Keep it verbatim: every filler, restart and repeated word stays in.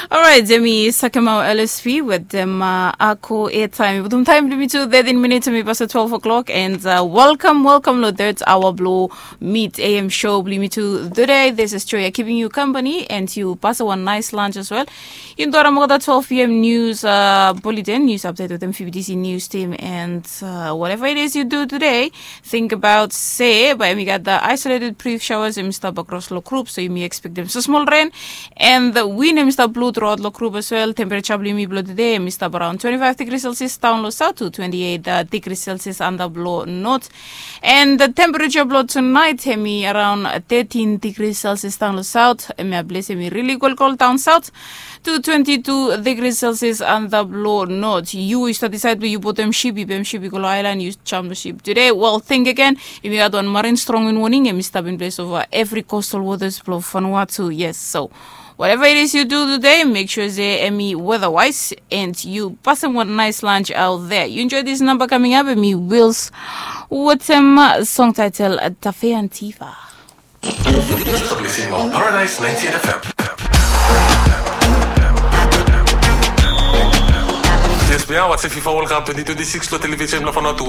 Alright, hemi Sakemau L S P wetem uh, Ako Airtime. Wetem taem blong yumi tu thirteen minutes, hemi pasa twelve o'clock, and uh, welcome, welcome lo third hour blo Mid A M show blong yumi tu today. This is Joya keeping you company, and yu pasa wan nice lunch as well. Yu dua olgeta twelve p.m. news uh, bulletin, news update wetem F B T C news team, and uh, whatever it is you do today, think about se bae hemi gat the isolated brief showers, hemi stap across lo group, so yumi expectem smosmol ren. And the wind hemi stap blo throughout lo group as well. Temperature blo yumi blo today hemi stap around twenty-five degrees Celsius down lo south to twenty-eight uh, degrees Celsius under blo north. And the temperature blo tonight hemi around thirteen degrees Celsius down lo south. Hemia ples hemi really cold, cold down south to twenty-two degrees Celsius under blo north. Yu yu stap decide be yu botem ship, yu botem ship, yu go lo island, yu jam lo ship today. Well, think again. Yumi gat wan marine strong wind warning, hemi stap in place over every coastal waters blo Vanuatu. Yes, so whatever it is you do today, make sure se hemi weather wise and yu pasem wan nice lunch out there. You enjoy this number coming up, hemi Wills wetem uh, song title uh, Tafe Antiva. You're listening on Paradise ninety-eight F M. Yes, we are watching FIFA World Cup twenty twenty-six lo television blo Vanuatu.